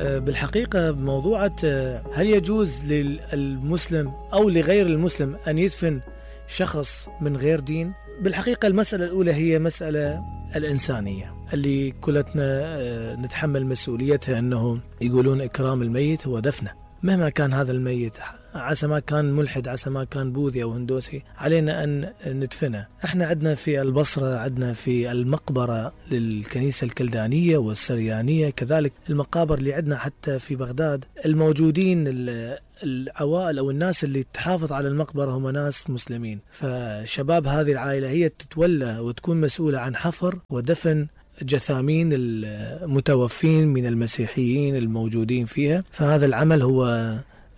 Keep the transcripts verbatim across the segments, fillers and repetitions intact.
بالحقيقة موضوعة هل يجوز للمسلم أو لغير المسلم أن يدفن شخص من غير دين؟ بالحقيقة المسألة الأولى هي مسألة الإنسانية اللي كلتنا نتحمل مسؤوليتها، أنه يقولون إكرام الميت هو دفنه، مهما كان هذا الميت، عسى ما كان ملحد، عسى ما كان بوذي أو هندوسي، علينا أن ندفنه. احنا عندنا في البصرة، عندنا في المقبرة للكنيسة الكلدانية والسريانية، كذلك المقابر اللي عندنا حتى في بغداد، الموجودين العوائل أو الناس اللي تحافظ على المقبرة هم ناس مسلمين. فشباب هذه العائلة هي تتولى وتكون مسؤولة عن حفر ودفن جثامين المتوفين من المسيحيين الموجودين فيها. فهذا العمل هو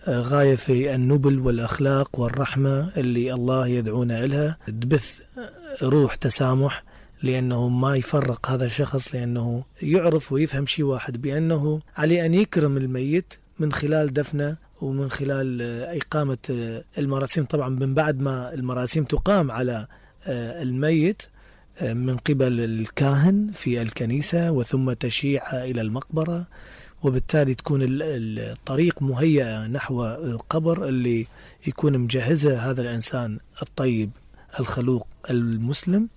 غاية في النبل والأخلاق والرحمة اللي الله يدعونا إلها، تبث روح تسامح، لأنه ما يفرق هذا الشخص، لأنه يعرف ويفهم شيء واحد، بأنه عليه أن يكرم الميت من خلال دفنه ومن خلال إقامة المراسيم. طبعا من بعد ما المراسيم تقام على الميت من قبل الكاهن في الكنيسة، وثم تشييعها إلى المقبرة، وبالتالي تكون الطريق مهيئة نحو القبر اللي يكون مجهزه هذا الإنسان الطيب الخلوق المسلم.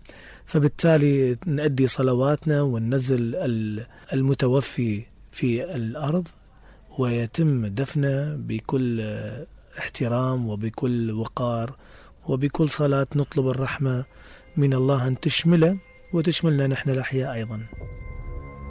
فبالتالي نؤدي صلواتنا وننزل المتوفي في الأرض، ويتم دفنه بكل احترام وبكل وقار وبكل صلاة، نطلب الرحمة من الله أن تشمله وتشملنا نحن الأحياء أيضا.